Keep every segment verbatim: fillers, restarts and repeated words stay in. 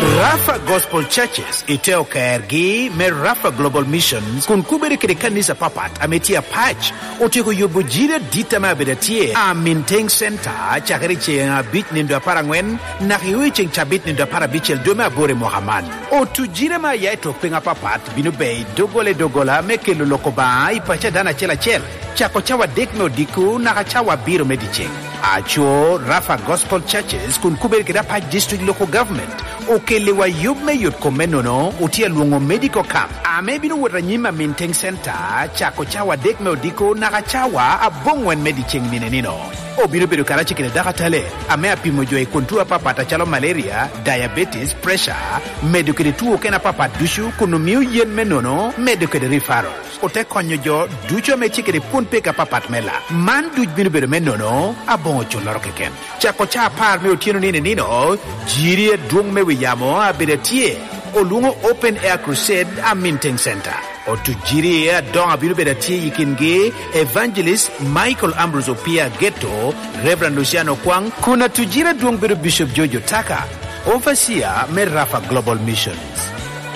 Rafa Gospel Churches i te okergi me Rafa Global Missions kun kubere kede kanisa papat ame tye apac, otyeko yubo jiri adit ame abedo atye a Minteng Center cakere i ceŋ abic nindo apar aŋwen naka i ceŋ cabit nindo apar abicel dwe me aboro i mwaka man. Otu jiri ame aya i tok piny apapat bino beo i doggola i doggola me kelo lok Obaŋa i paco a dano acel acel, cako cawa adek me odiko naka cawa abiro me dyeceŋ. Aco, Rafa Gospel Churches kun kubere kede apac District Local Government okelliwa yub me yot kom me nono, otye alwoŋo medical camp ame bino wot anyim a Minteng Center cako cawa adek me odiko naka cawa aboŋwen me dyeceŋ nino nino. Obino bedo karacel kede dakatale ame apimo jo i kun tuo apapat acalo malaria, diabetes, pressure, medo kede tuo okene apapat ducu kun omio yen me nono, medo kede referral. Ote konyo jo ducu ame tye kede kwon peko apapat me lak. Man duc bino bedo me nono, aboŋo culloro keken. Cako ca apar me otyeno nino nino, jiri adwoŋ me wi yamo abedo atye, olwoŋo Open Air Crusade a Minteng Center. Otu jiri adoŋo abino bedo atye i kingi Evangelist Michael Ambrose Opia Geto, Reverend Luciano Kwang, kun atu jiri adwoŋ bedo Bishop George Otaka, Overseer me Rafa Global Missions.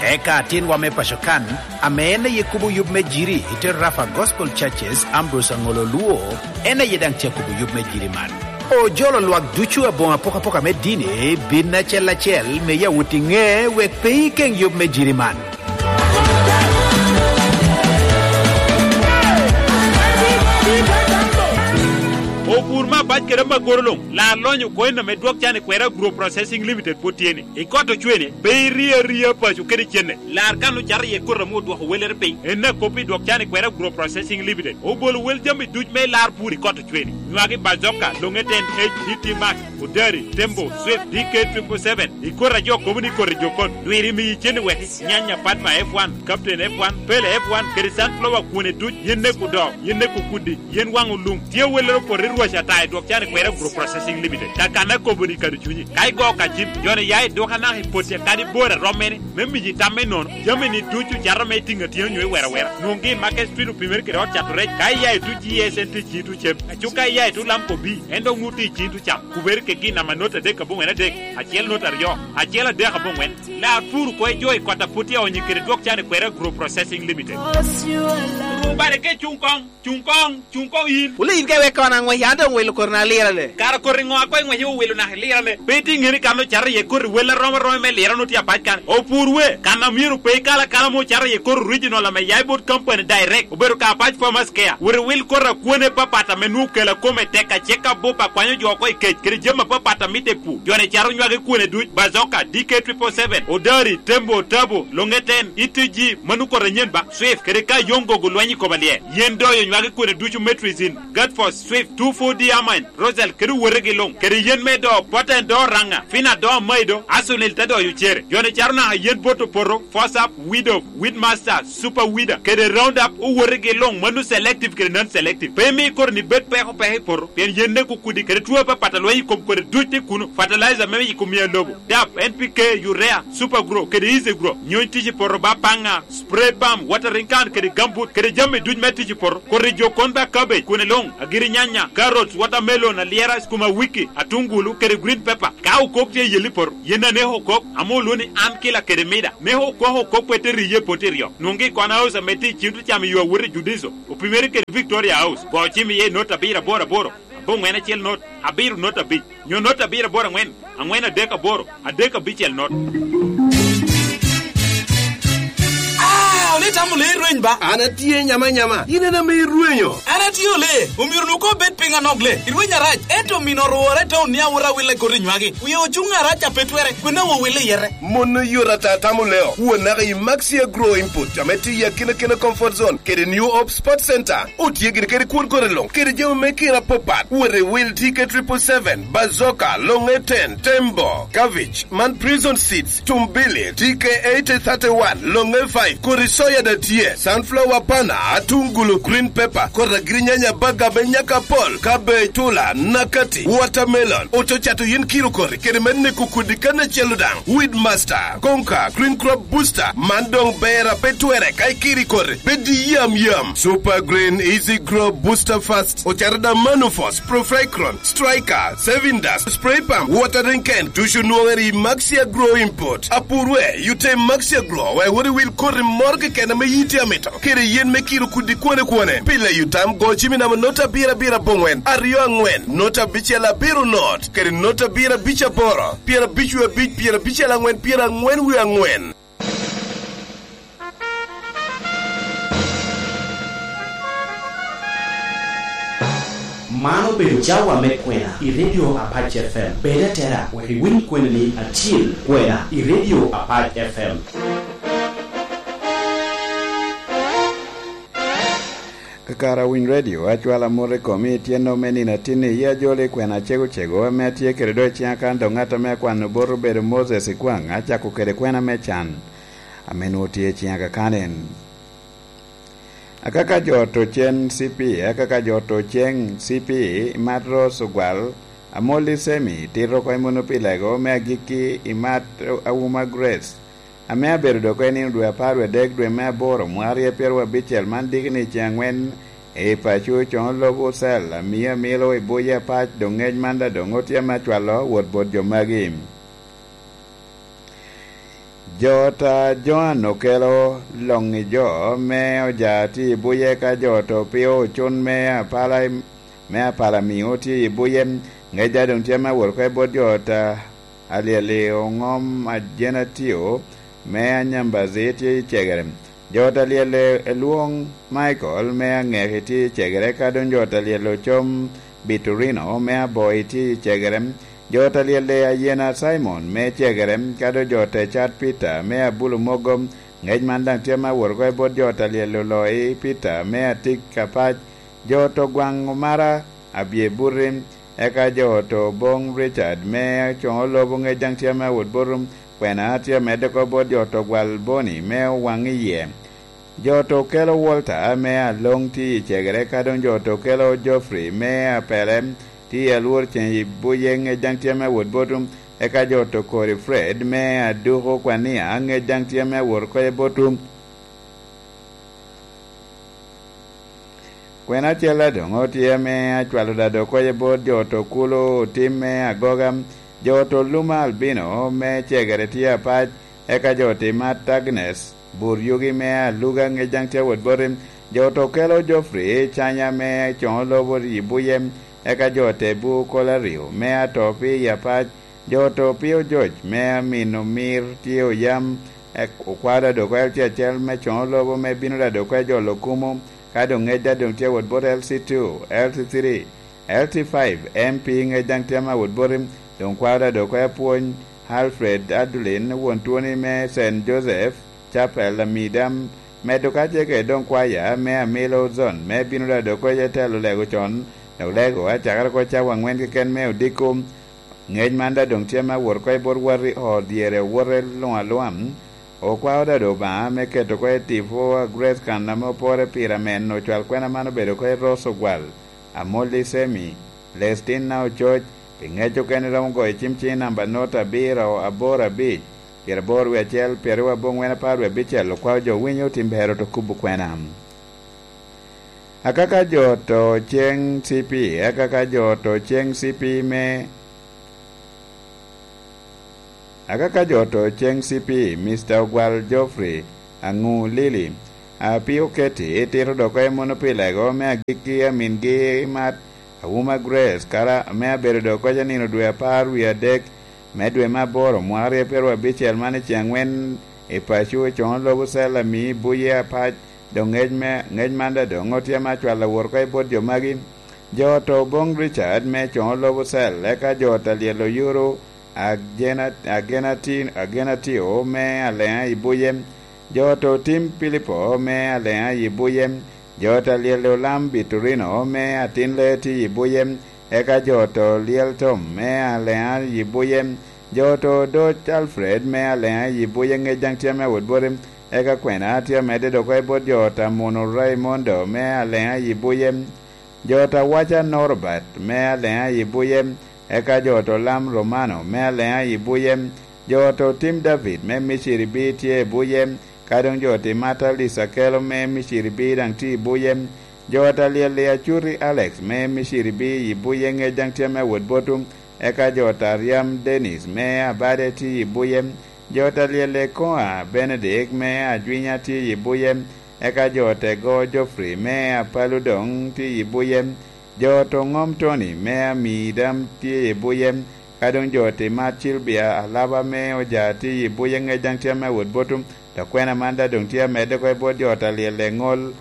Eka atinwa me paco kan, ame en aye kubo yub me jiri i te Rafa Gospel Churches, Ambrose Aŋolo Luo, en aye daŋ tye akubo yub me jiri man. Ojolo lwak ducu aboŋo apokapoka me dini bin acel acel me yawot i ŋe wek pe ikeŋ yub me jiri man. Opur me abac kede amagoro luŋ, lar lonyo coin ame dwok can i kwera Agro Processing Limited pwod tye ni. I kot ocwene, pe irie aria paco kede cene. Lar kan ocato iye koti ame odwoko wellere piny. En akop i dwok can i kwera Agro Processing Limited. Obolo wel jami duc me lar pur i kot ocwene. Nywagi Bazoka, Longe ten, H D T Max, Odari, Tembo, Swift, D K triple seven. I koti a jo kobo ni koti jokon. Lwiri miyi cene weki. Nyanya Padma F one, Captain F one, Pele F one, kede Sunflower kwone duc, yen neko do, yen neko kudi. Yen waŋ olum, tye awellere opoto i rwac ata i dwok can i kwera Agro Processing Limited. Kakanna akobo ni kadi cunyi. Ka igo ka cim, joni ya i duka naka i poti akadi bor a romme ni, me miyi tam me nono, jami ni ducu cato me tiŋ atyeno nyo i wera wera. Nwoŋgi i Market Street opimere kede ot cato rec, ka iya i tu G S N T ciŋ tu cem. Aco ka iya i tu Lamco B, en dok nwoŋo tye i ciŋ tu cam. Kubere kegi i namba not adek aboŋwen adek, acel not aryo, acel adek aboŋwen. Lar pur oko i jo i kot a pwod tye aonyo kede dwok can i kwera Agro Processing Limited. Rubare ke cuŋ koŋ. Cuŋ koŋ, cuŋ koŋ yin. Wule yin ka iwek kono aŋwec, an doŋ wilo koti na lirane. Kara koti ŋo a koŋ iŋwec iwilo naka ilirane? Pe itye ŋeni kan ocato iye koti wel arom aroma me lirane otye apac kan. Opur we, kan a myero pe ikal akala ame ocato iye koti original ame ya i bot company direct. Obedo ka apac Farmers Care. Wot iwil koti a kwone papat ame nwoŋo kela kome tek acek abup a kwanyo jo oko i kec, kede jami apapat a mitte i pur. Joni cato nywagi kwone duc, Bazoka, D K triple seven, Odari, Tembo, Tabo, Longe ten, Itiji, mano koti anyen ba. Swift, kede ka Yongo gulweny i kom alyel. Yen doyo nywagi kwene ducu Metrizin, Gatfos, Swift, two four D Amine, Rosal, kede owotegi luŋ, kede yen me do, Poten do Raŋa, Fina do Maido, Asunil te doyo cere. Joni caro naka yen bot opoto, Fosap, Widow, Weedmaster, Super Weeder, kede Roundup, owotegi luŋ, mano selective kede non-selective. Pe imi koro ni bed peko peko i poto, pien yen neko kudi, kede tuo apapat a lweny i kom kodi duc tye kuno, fertilizer me yiko mia lobo, dap, N P K, urea, Super Grow, kede Easy Grow, nyony tic i poto ba paŋa, spray pump, watering can kede gambut, kede jami duc me tic i poto. Koti jo kon ba cabbage, kwene luŋ, agiri nyanya, carrots, watermelon, alyera, skuma wiki, atungulu, kede green pepper. Ka okok tye i yel i poto, yen aneko okok, ame olwoŋo ni an kila kede mida. Neko okok okok pe te riye poti ryo. Nwoŋgi i kona house ame tye i cim tucam i yo awot i Judiso, opimere kede Victoria House. Go cim iye i not abiro aboro aboro, aboŋwen acel not, abiro not abic, nyo not abiro aboro aŋwen, aŋwen adek aboro, adek abicel not. Ah, ole itamo lee rweny ba? An atye nyama nyama, in en ame irwenyo. An atye ole, omyero nu ko bed piny anok le. Irweny arac, ento omino orwore i taun ni awot awil i koti nywagi. Wie ocuŋ arac a pe twere, kwena wo wil i yete. Mon oyot ata tamo leo. Won naka i Maxi Agro Input, ame tye i akina kina comfort zone, kede New Hope Sport Center. Otye gini kede kwon kore luŋ, kede jami me kira apapat. Wot i wil T K triple seven, Bazooka, Longe ten, Tembo, Cabbage, man Prison Seeds, Tumbili, T K eighty thirty-one, Longe five, kodi soya da tye. Sunflower bana, atungulu, green pepper, kor agirinyanya, baga me nyaka pol, cabbage, tula, nakati, watermelon, ococato yin kiro kori, kede me neko kodi kan acel daŋ. Weed master, konka, green crop booster, man doŋ ber ape twere ka ikiri kori, bed yam yam. Super green, easy grow, booster fast, ocato daŋ manufos, profecron, striker, saving dust, spray pump, watering can, tucu nwoŋere i Maxia Grow Import. Apurwe, yute Maxia Grow, wek wot i wil koti moro keken ame yiti amito. Kede yen me kiro kudi kwane kwane. Pile yutam go cimi namo nota abiro abiro abongwen, aryo angwen, nota abicel abiro not, kede nota abiro abic aboro, pyera abic wie abic, pyera abicel angwen, pyera angwen wie angwen. Man obedo cawa me kwena i Radio Apac F M. Bed atera wek iwiny kweni ni acil kwena i Radio Apac F M. Kakara winy radio, acwala mot i komi i tyeno me nino atinni, i ajoli kwena cego cego ame atye kede do i ciŋa kan dok ŋat ame akwano bot obedo Moses Ikwaŋ, acako kede kwena me can ame nwoŋo tye i ciŋa kakan en. Akaka jo to cen C P, akaka jo to cen C P, Matros Ogwal, Amolli Semi, tito oko i Muno pi Lego me agikki i Mat Awuma Grace, ame abedo dok i nino dwe apar wie adek dwe me aboro mwaka aryo pyeraryo abicel man diki ni ceŋ angwen i paco coŋo lobo cel amio amilo i buye apac, doŋ ngec man daŋ doŋ otye ame acwalo wot bot jo magi. Jo ta Joan okelo loŋ i jo me oja tye i buye ka jo to pio ocun me apala, me apala mio tye i buye. Ŋec a doŋ tye me awot oko i bot jo ta alyel i oŋom a Jenatio me Anyambazi tye i cegere. Jo ta alyel i Elwoŋ Michael me Aŋeki tye i cegere, ka doŋ jo ta alyel ocom Biturino me Aboi tye i cegere. Jo ta alyel i Ayena Simon me cegere, ka doŋ jo ta Cat Peter me Abulu Mogo. Ŋec man daŋ tye me awot oko i bot jo ta alyel oloi Peter me Atik Apac. Jo to gwaŋ omara abye buti, eka jo to boŋ Richard me coŋo lobo ŋec daŋ tye me awot botum, kwena tye amedde oko bot jo to gwal Boni me owaŋ i yie. Jo to kelo Walter me aloŋ tye i cegere, ka doŋ jo to kelo Geoffrey me apele tye i alwor ceŋ i buye ŋec daŋ tye me awot botum, eka jo to kori Fred me aduko kwania ŋec daŋ tye me awot oko i botum. Kwena acel a doŋ otye ame acwalo dado koye bot jo to kulo otim me agoga, jo to luma albino me cegere tye apac, eka jo to imat Agnes bur yugi me aluga ŋec daŋ tye awot boti, jo to kelo Geoffrey canya me coŋo lobo i buye, eka jo te bu kolo aryo me ato pi i apac, jo to pio joc me amino mir tye oyam, Ek-, okwao dado oko L C acel me coŋo lobo me bino dado oko jolo kumo, ka doŋ ŋec daŋ doŋ tye awot bot L C two, L C three, L C five, M P ŋec daŋ tye ame awot boti, doŋ kwao dado oko apwony, Alfred Adulin, won twoni me Saint Joseph Chapel, Amida, medo ka tye kede doŋ kwaya me Amilo Zone, me bino dado oko i telo lego con, dok lego acakere oko cawa aŋwen keken me odiko, Ŋec man daŋ doŋ tye me awot oko i bot wati ot dyere owote luŋ aluŋa. Okwao daŋ Obaŋa me keto oko i tipo a Grace kan ame opore pire amen ocwal kwena man obedo oko i Rose Ogwal, Amolli Semi, Lestina Ococ, pi ŋec okene romo goyo cim ciŋ namba not abiro aboro abic, pyeraboro wie acel, pyeraryo aboŋwen, apar wie abicel, okwao jo winyo otim bero to kubo kwena. Akaka jo to ceŋ C P, akaka jo to ceŋ C P me, akaka jo to ceŋ C P, Mister Ogwal Geoffrey Aŋu Lili, a pio Keti tito dok oko i Muno pi Lego me agikki, amingi Mat Awuma Grace, kara ame abedo dok oko i nino dwe apar wie adek me dwe me aboro mwaka aryo pyeraryo abicel man i ceŋ aŋwen i paco i coŋo lobo cel ami buye apac, Doŋ ŋec me, ŋec man daŋ doŋ otye ame acwalo awot oko i bot jo magi. Jo to boŋ Richard me coŋo lobo cel, eka jo ta lyel oyuro Agena-, Agenati-, Agenatio me Aleŋa i buye. Jo to tim Pilipo me Aleŋa i buye. Jo ta lyel olam Biturino me atin le ti i buye. Eka jo to lyel Tom me Aleŋa i buye. Jo to doc Alfred me Aleŋa i buye ŋec daŋ tye ame awot bote. eka kwena tye amedde dok oko i bot jo ot a Muno Raimondo me Aleŋa i Buye, jo ot a Waca Norbert me Aleŋa i Buye, eka jo ot Olam Romano me Aleŋa i Buye, jo ot Otim David me Miciri B tye i Buye, ka doŋ jo ot Imata Lisa Kelo me Miciri B daŋ tye i Buye, jo ot Alyel i Acuti Alex me Miciri B i Buye ŋec daŋ tye ame wot botum, eka jo ot Aryam Dennis me Abade tye i Buye, jo ot Alyel Ekoa Benedict me Ajwinya tye i Buye, eka jo ot Ego Geoffrey me Apalu doŋ tye i Buye, jo ot Oŋom Tony me Amidam tye i Buye, ka doŋ jo ot Imat Cilbia Alaba me Oja tye i Buye ŋec daŋ tye ame wot botum, dok kwena man daŋ doŋ tye amedde oko i bot jo ot Alyel Eŋol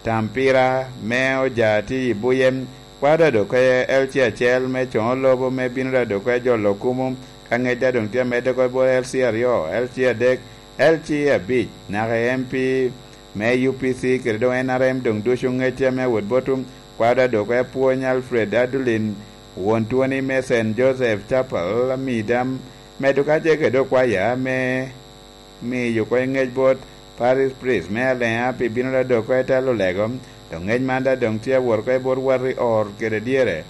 Tampira me Oja tye i Buye, kwaro daŋ dok oko L C acel me coŋo lobo me bino daŋ dok oko jolo kumo, ka ŋec daŋ doŋ tye amedde oko i bot L C aryo, L C adek, L C abic, naka i M P me U P C kede doŋ N R M doŋ ducu ŋec tye ame wot botum, kwaro daŋ dok oko Apwony Alfred Adulin, won twoni me Saint Joseph Chapel, Amidam, medo ka ce kede okwaya me miyo oko ŋec bot Parish Priest me Aleŋa pi bino daŋ dok oko i telo lego, doŋ ŋec man daŋ doŋ tye awot oko i bot wati or kede dyere.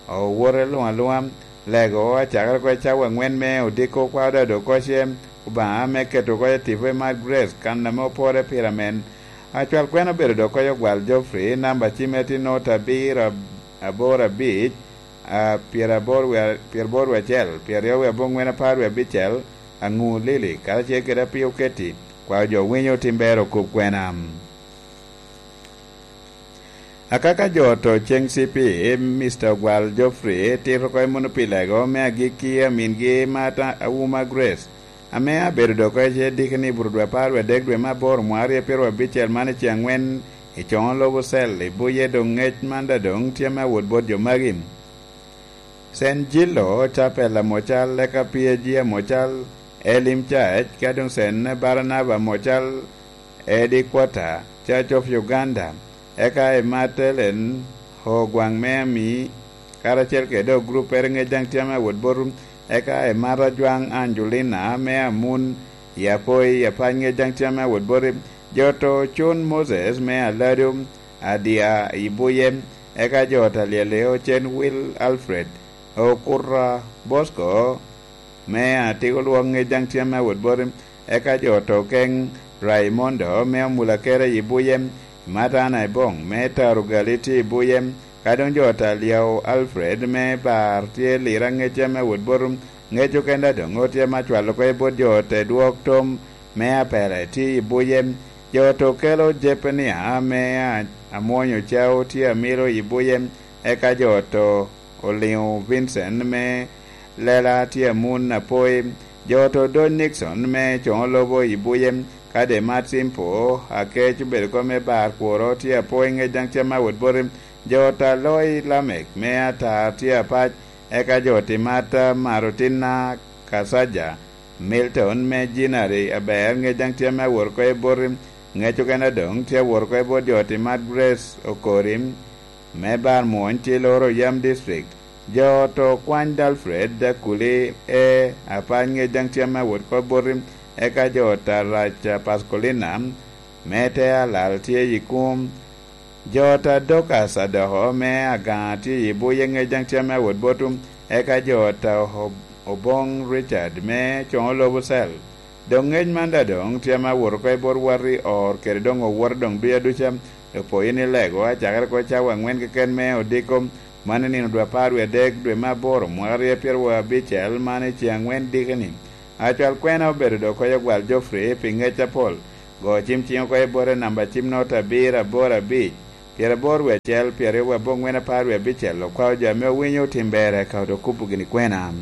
Owote luŋ aluŋa, lego acakere oko i cawa aŋwen me odiko kwaro daŋ dok oko ce, Obaŋa me keto oko i tipo i Mad Grace, kan ame opore pire amen. Acwal kwena obedo dok oko i Ogwal Geoffrey, namba cimme tye nota abiro ab-, aboro abic, a, pyeraboro wie-, pyeraboro wie acel, pyeraryo wie aboŋwen, apar wie abicel, Aŋu Lili, karacel kede Apio Keti, kwao jo winyo Tim Ber okub kwena. Akaka jo oto ceŋ C P, Mister Ogwal Geoffrey, tito oko i muno pi lego me agikki amingi Martha Auma Grace, ame abedo dok oko i ce dikini i buto dwe apar wie adek dwe me aboro mwaka aryo pyeraryo abicel man i ce aŋwen i coŋo lobo cel i Buye, doŋ ŋec man daŋ doŋ tye me awot bot jo magi. Saint Gillo Chapel Amocal, eka P A G Amocal, Elim Church, ka doŋ Saint Barnaba Amocal, Eddie Quarter, Church of Uganda, eka i Martelen, Ogwaŋ me Ami, karacel kede oguruppere ŋec daŋ tye ame awot botum, eka i Marajwaŋ Angelina me Amun, i Apoi, i Apany ŋec daŋ tye ame awot boti, jo oto Cun Moses me Aladu, Adia i Buye, eka jo ot Alyel Ocen Will Alfred, Okuta Bosco me Atiko Lwok ŋec daŋ tye ame awot boti, eka jo oto Keŋ Raimondo me Omulakere i Buye, Matana Eboŋ me Tarugali tye i Buye, ka doŋ jo ot Alyao Alfred me Bar tye Lira ŋec tye ame awot boti, ŋec okene daŋ doŋ otye ame acwalo oko i bot jo ot Edwok Tom me Apele tye i Buye, jo ot Okelo Jepenia me A-, Amwonyo Cao tye amiro i Buye, eka jo ot Oliŋo Vincent me Lela tye amun Apoi, jo ot Odony Nixon me Coŋo Lobo i Buye, ka Demat Simpo Akec obedo kom me Bar Kworo tye Apoi ŋec daŋ tye ame awot boti, jo ot Aloi Lamek me Atar tye apac, eka jo ot Imata Marutina Kasaja, Milton me Jinari aber ŋec daŋ tye ame awot oko i boti, ŋec okene doŋ tye awot oko i bot jo ot Imat Grace Okori, me Bar Mwony tye loro yam district. Jo oto Kwany Alfred Akuli e apany ŋec daŋ tye ame awot oko boti, eka jo oto Arac Pascolina me te alal tye i kum. Jo oto Adokas Adoko me Agaŋa tye i Buye ŋec daŋ tye ame awot botum, eka jo oto Ob-, Oboŋ Richard me Coŋo Lobo Cell. Doŋ ŋec man daŋ doŋ tye ame awot oko i bot wati or kede doŋ owote doŋ duca duca. Opoyo ni lego acakere oko cawa aŋwen keken me odiko, man i nino dwe apar wie adek dwe me aboro mwaka aryo pyeraryo abicel man i ce aŋwen dikini. Acwal kwena obedo dok oko i Ogwal Geoffrey pi ŋec apol. Go cim ciŋ oko i bote namba cim nota abiro aboro abic, pyeraboro wie acel, pyeraryo wie aboŋwen, apar wie abicel, okwao jo ame owinyo Tim Ber eka oto kubo gini kwena.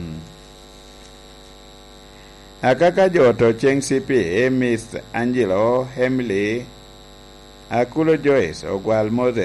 Akaka jo oto ceŋ C P, Miss Angelo, Emily, Akulo Joyce, Ogwal Moses,